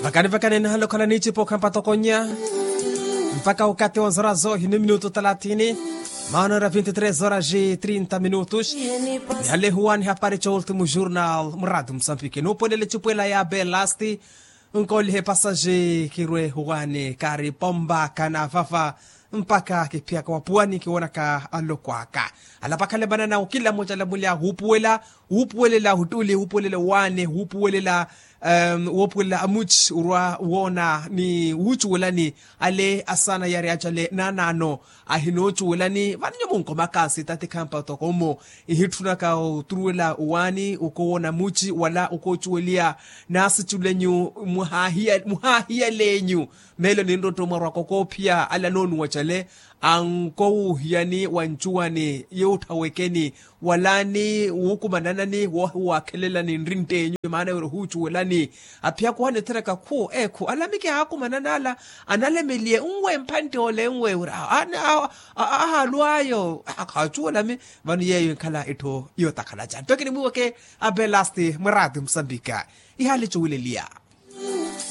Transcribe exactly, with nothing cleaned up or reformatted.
Vakani vakani nihale okhala niicipa okhampa tokonya mpaka okati wa nzora zoohi ni minutu talathini. Maana ora vinti tres horas e trinta minutus. Nihale huwani hapari ca ultimu jurnal muratu musambiki nuupuwelele cipwela ya belasti. Nkoolihe pasaji kirwe huwani kaari pomba kana vava mpaka kiphiyaka wapuwani kiwoonaka aloko aka. Alapakhalemana nawo kila mmoja alamuli ahuupuwela. Wuupuwelela huttuli wuupuwelela waane wuupuwelela woopuwelela amuci orwa woona ni wuucuwelani. Ale asaana yari acale naanaano ahinoocuwelani vano nyumunko makasi tati khampa toko mmo. Ihitthunaka oturuwela owaani okoowoona muci wala okoocuweliya naasiculenyu muhaahiyaleenyu. Meelo ninrotto mwarwaka okoophiya ale anoonuwa cale ankowuuhiyani wa ncuwani yuutthawekeni wala ni wuukumananani woohiwaakhelelani nrintt'enyu ni maana wira ohuucuwelani. Aphiyaka owaani ethereka khu ekhu alamiki aakumanana ala analemeliye nwe mphantte ole nwe wira ahaalw'ayo. Khaacuwelami vano yeeyo enkhala etthu yootakhala ca nto kinimwiiweke abelasti mwarati musambika ihaali cuwileliya.